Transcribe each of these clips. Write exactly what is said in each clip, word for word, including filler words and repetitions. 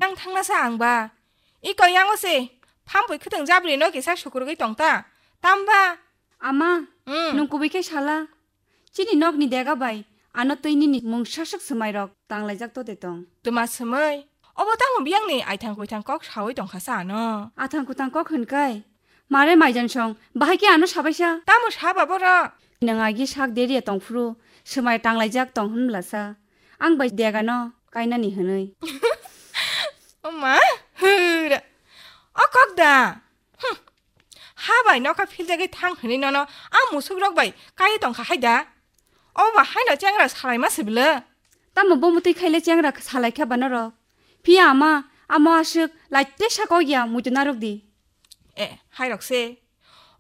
Ang thangna sa ang ba. Iko yango se, phampui khwtwng jabri no kisa sukurugwi tong ta. Tamba? Ama, hmm, nwng kubui khe sala. Chini nokni dega bai ano twi nini mungsa swk swmai rok tanglaijak to de tong. Tuma swmai? Obo tamo biyangni aithang kuithang kok sawi tong kha sa ano? Athang kuthang kok hwn kai. Mare maijan song, bahai khe ano sabaisa. Tamo saba boro? Nwng agi sak deriya tongphuru, swmai tanglaijak tong hwnbla sa. Ang bai dega no kainani hwnwi. Oma, hura. O kok da. Hm. Ha bai nokha philjagwi thang hwnwi nono a musuk rok bai kai tong kha hai da. Obo ba haino chengra salai ma sibla. Tamo bo mutwi khaile chengra salai kha ba norok. Phiya ama, amo aswk laite sa kok ya muitu narok di. E, hai rok se.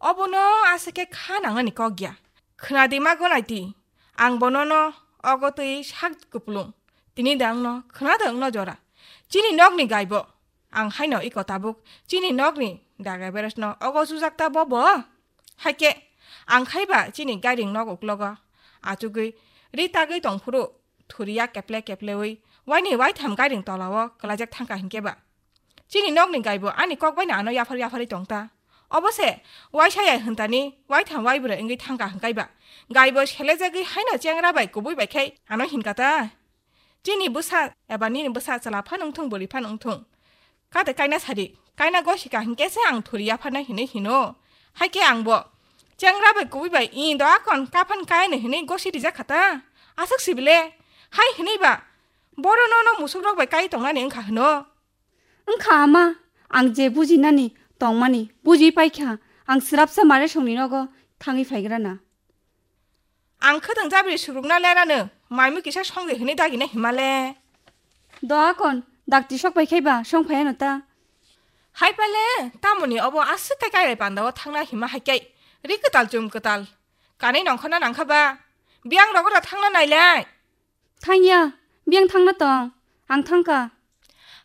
Obo no asa khe kha nangani kok ya. Khna di ma gonai di. Ang bono no ogo twi sak kupulung. Tini da ang no khna da ang no jora. Chini nokni gaibo. Ang haino iko tabuk chini nokni daga beres no ogo sujak ta bobo. Haike ang khaiba chini gairing nok uklogo achugwi ri tagwi tongphuru thuriya keple keplewi waini waitham gairing tolao kwlaijak thangkha hinkhe ba. Chini nokni gaibo ani kok baino ano yaphar yapharwi tongta. Obo se waisa ya hwntani waitham waibrwi wngwi thangkha hwnkaiba. Gaibo selejagwi haino chengra bai kubui bai khai ano hinkata. Chini bwsa eba nini bwsa chwla phano wngthung, bwrwi phano wngthung. Kate kaina sadi, kaina gosika hinkhe se ang thuri yapharnai hinwi hino. Haikhe angbo chengra bai kubui bai i do akon kaphan kaino hinwi gosi rijak kha ta. Aswk sibile, hai hinwi ba, boro nono musuk rok bai kai tongnani wngkha hwno. Wngkha ama, ang je bujinani tongmani buji paikha, ang swrapsa mare songni nogo thangwi phaigrana. Ang khwtwng jabri sukrukna lerano, maimu kisa songde hwnwi dagina himale. Do akon, dakti sok pai khaiba song phaiano ta. Hai pale, tamoni obo aswk kai kai bai pandao thangna hima hai kai. Ri kwtal chum kwtal. Kanwi nongkhorna nangkha ba. Biyang rogora thangna nailai. Thangya, biyang thangna tong. Ang thangkha.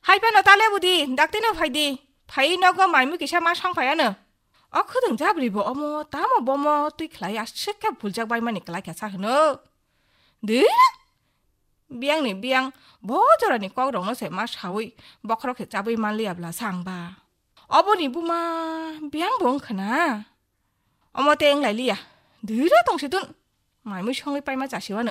Hai phano ta lebudi, daktino phaidi. Phai nogo maimu kisa ma song phaiano. O khwtwng jabri bo omo, tamo bomo twi khlai aswk khe buljak bai mani kwlai kha sa hwno. Dira? Biyangni biyang bo jorani kok rokno se ma sawi bokhorok se chabwi manliya bla sa ang ba. Oboni buma biyang bo wngkha na. Omo te wng lai liya. Dira tong si tun. Mai mui songwi paima chasiwano.